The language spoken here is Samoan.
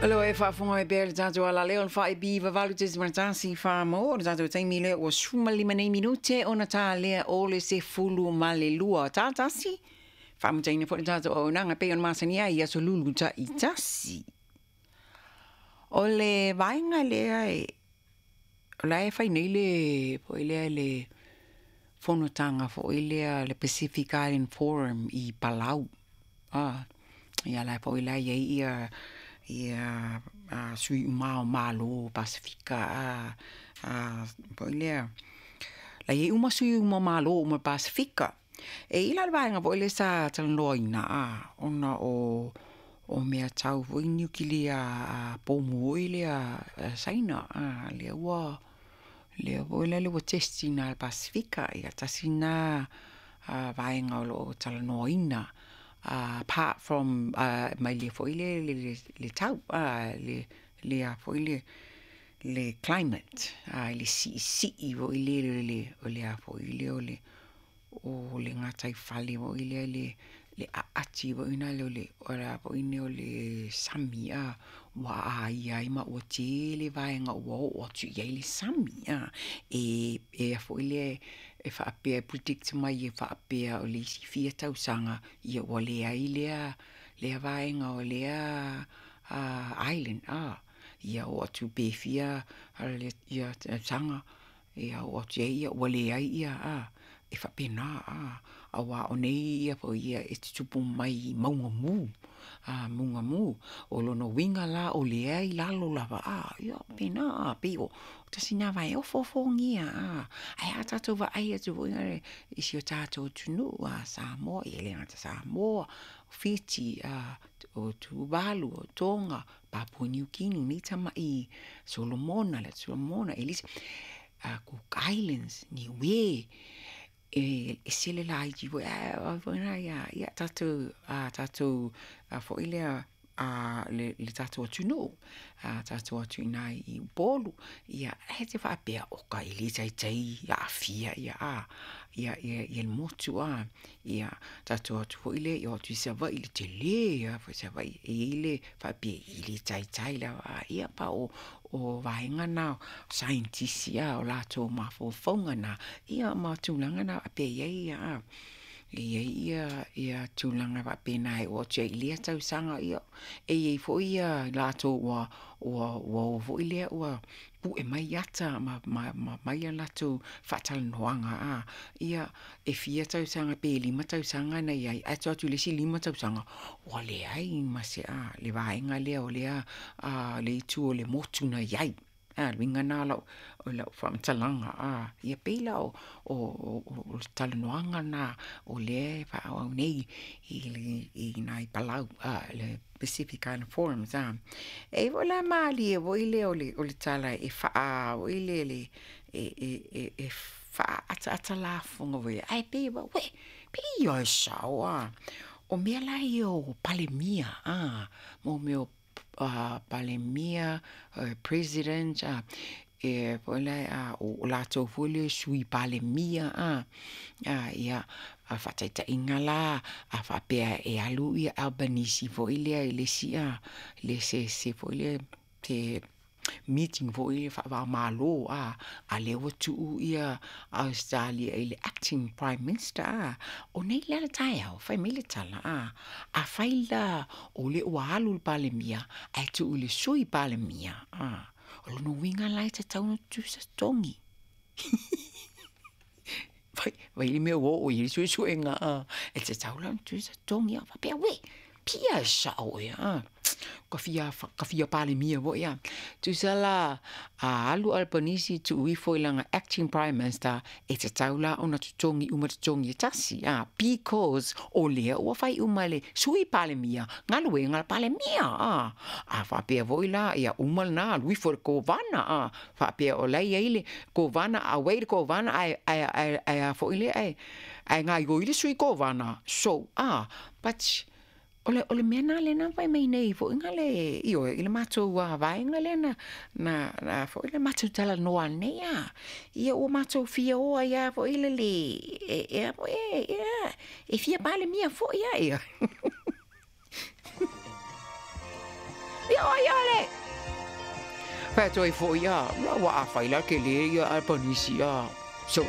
O lo o e faafofoga mai pea i le tatou alaleo o le 498.1 Samoa, o le tatou taimi lea ua 15 nei minute ona talia o le 12. Tatasi, faamutaina foi le tatou auaunaga e pei ona masani ai i aso lulu taitasi. O le vaega lea e, o la e fai nei le, foi lea le fonotaga foi lea le Pacific Island Forum i Palau. Ia la foi la e i ai ia ia sui uma o Malo o Pasefika foi lea, la e i ai uma sui uma o Malo uma o le Pasefika. E i ai la le vaega foi lea sa talanoaina ona o mea tau foi niukilia pomu foi lea a Saina lea ua lea foi lele ua test ina e le Pasefika. Ia tasi lena vaega o lo o talanoaina apart from mai le foi lele le tau le a foi le le climate i le siisii foi lele o le a foi lea o le o le gataifale foi lea le aati foi lea o le o le a foi nei o le sami ua aia ai ma ua tele vaega ua oo atu i ai le sami e e a foi lea e faapea e predict mai e faapea o le isi fia tausaga ia ua leai lea lea vaega o lea island ia oo atu pe fia ia tausaga ia oo atu i ai ua leai ia e faapena aua o nei ia foi ia e tutupu mai i mauga mu mauga mu. O lona uiga la o lea e i lalo lava ia faapena pei o tasi lena vaega e ofoofogia ae a tatou vaai atu foi lea i si o tatou atunuu Samoa, e le gata ia Samoa, Fiti, o Tuvalu, o Toga, Papua Niu Kini, nei tamai Solomona, le Atu Solomona, Cook Islands, Niue, e ese le laiti foi ae foi na ia tatou tatou foi lea le tatou atunuu tatou atu i ina i Upolu ia e te faapea o ka e le taitai aafia ia ia ia le motu ia tatou atu foi lea ia o atu i Savaii i le tele lava foi Savaii e i ai le faapea e le taitai lava ia pa o vaega na o saienitisi o latou mafaufauga na ia ma tulaga na faapea e i ai ia e i ai ia ia tulaga faapena e oo atu ai i lea tausaga ia e i ai foi ia latou ua ua ua o foi lea ua pue mai ata ma aumai a latou faatalanoaga ia e fia tausaga pe 5 tausaga na i ai ae tuu atu i le isi 5 tausaga ua leai ma se le vaega lea o lea le itu o le motu na i ai. Le uiga lena o lau faamatalaga ia pei la o le talanoaga lena o lea e faaauau nei i ina i Palau le Pacific Island Forum. E i ai foi la malie foi lea o le tala e faa foi lele e faaataatalafoga foi lea, ae pei uē, pei ia e sao O mea la ia o Palemia mo mea o Palemia, President e foi lea o latou foi lea Sui Palemia ia a faataitaiga la, a faapea e alu ia Albanese foi lea i le isi le se foi lea se meeting foi lea faava-o-Malo a lea ua tuu ia Ausetalia i le acting Prime Minister o nei la le taeao fai mai le tala afai la o lea ua alu le Palemia ae tuu i le Sui Palemia o lona uiga la e tatau ona tutusa totogi. Vai le mea ua oo i ai le suesuega e tatau la ona tutusa totogi. Ou faapea, uē, pia e sao ea ka fia ka fia Palemia foi Tusa la a alu Albanese tuu ifo i lana acting Prime Minister e tatau la ona totogi uma totogi e tasi because o lea ua fai uma e le Sui Palemia galuega a le Palemia A faapea foi la ia uma lena alu ifo i le Kovana faapea o la e i ai le Kovana auai le Kovana ae ae ae ae a foi lea ae ae gaoioi le Sui Kovana so but o le o le mea lena lea na fai mai nei foi na le ioe i le matou vaega lea na na na foi le matou talanoa nei ia ua matou fia o ai lava foi lele e e a foi e e fia Palemia foi lava ia. Ia o ai le Faatoa ai foi a, ua afai la tele ia Apanisi a. So,